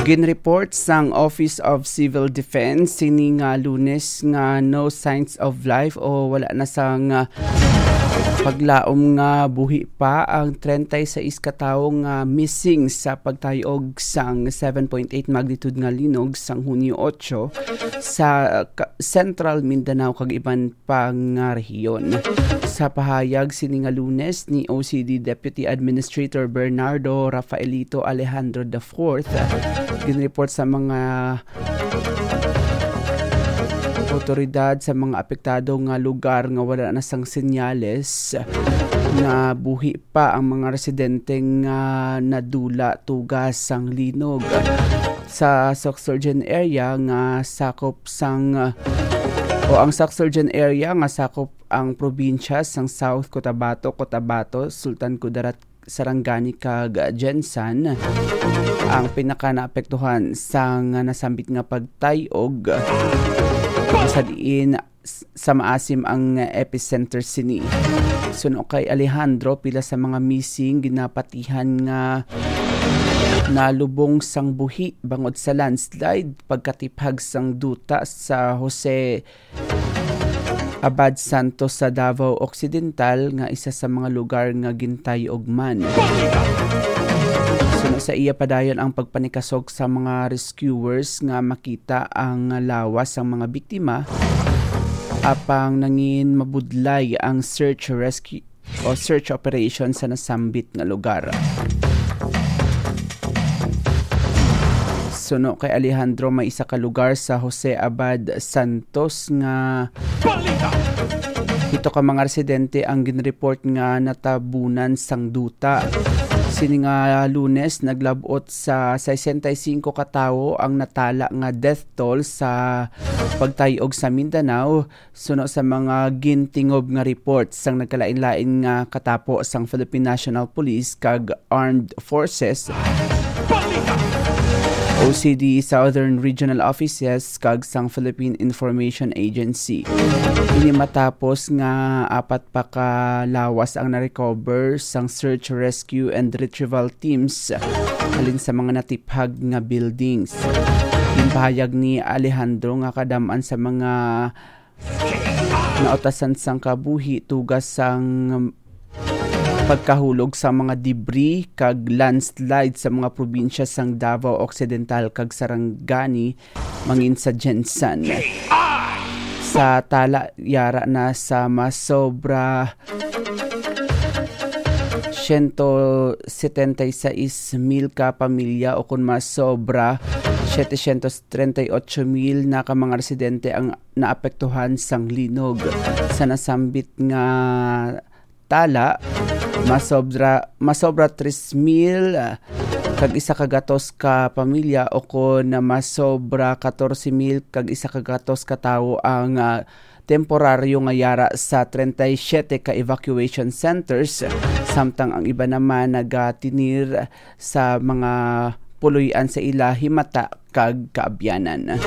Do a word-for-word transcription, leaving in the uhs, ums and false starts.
Ginreport sang Office of Civil Defense sini nga Lunes nga no signs of life o wala na sang, ah, paglaom nga buhi pa ang treinta y seis ka tawo nga missing sa pagtayog sang seven point eight magnitude nga linog sang Hunyo otso sa, ah, ka-, Central Mindanao kag iban pa nga rehiyon. Sa pahayag sini nga Lunes ni O C D Deputy Administrator Bernardo Rafaelito Alejandro the fourth, ginreport sa mga otoridad sa mga apektado nga lugar nga wala na sang senyales nga buhi pa ang mga residente nga nadula tugas sang linog. Sa Soxurgen area nga sakop sang, o ang Soxurgen area nga sakop ang probinsya sang South Cotabato, Cotabato, Sultan Kudarat, Sarangani kag Gensan ang pinaka naapektuhan sang nasambit nga pagtay-og, sa diin s-, sa maasim ang epicenter sini. Suno kay Alejandro, pila sa mga missing ginapatihan nga nalubong sang buhi bangod sa landslide pagkatiphag sang duta sa Jose Abad Santos sa Davao Occidental, nga isa sa mga lugar nga gintay-og man. Suno sa iya, padayon ang pagpanikasog sa mga rescuers nga makita ang lawas sang mga biktima, apang nangin mabudlay ang search rescue o search operation sa nasambit nga lugar. Suno kay Alejandro, may isa ka lugar sa Jose Abad Santos nga pito ka mga residente ang ginreport nga natabunan sang duta. Sini nga Lunes, naglab-ot sa sesenta y cinco ka tawo ang natala nga death toll sa pagtay-og sa Mindanao, suno sa mga gintingob nga report sang nagkalain-lain nga katapo sang Philippine National Police kag Armed Forces, O C D Southern Regional Offices, kag sang Philippine Information Agency. Ini matapos nga apat pa ka lawas ang na-recover sang search, rescue, and retrieval teams halin sa mga natiphag nga buildings. Ginpahayag ni Alejandro nga kadam-an sa mga nautasan sang kabuhi tugas sang pagkahulog sa mga debris kag landslide sa mga probinsya sang Davao Occidental kag Sarangani, mangin sa Gensan. Sa tala, yara na sa masobra siyento setenta y seis mil ka pamilya, o kon masobra setecientos treinta y ocho mil na ka mga residente ang naapektuhan sang linog. Sa nasambit nga tala, masobra, masobra tres mil, ah, kag isa ka gatos ka pamilya, o kon masobra katorse mil kag isa ka gatos ka tawo ang, ah, temporaryo nga yara sa treinta y siete ka evacuation centers, samtang ang iba naman nagatinir sa mga puloy-an sa ila himata kag kaabyanan.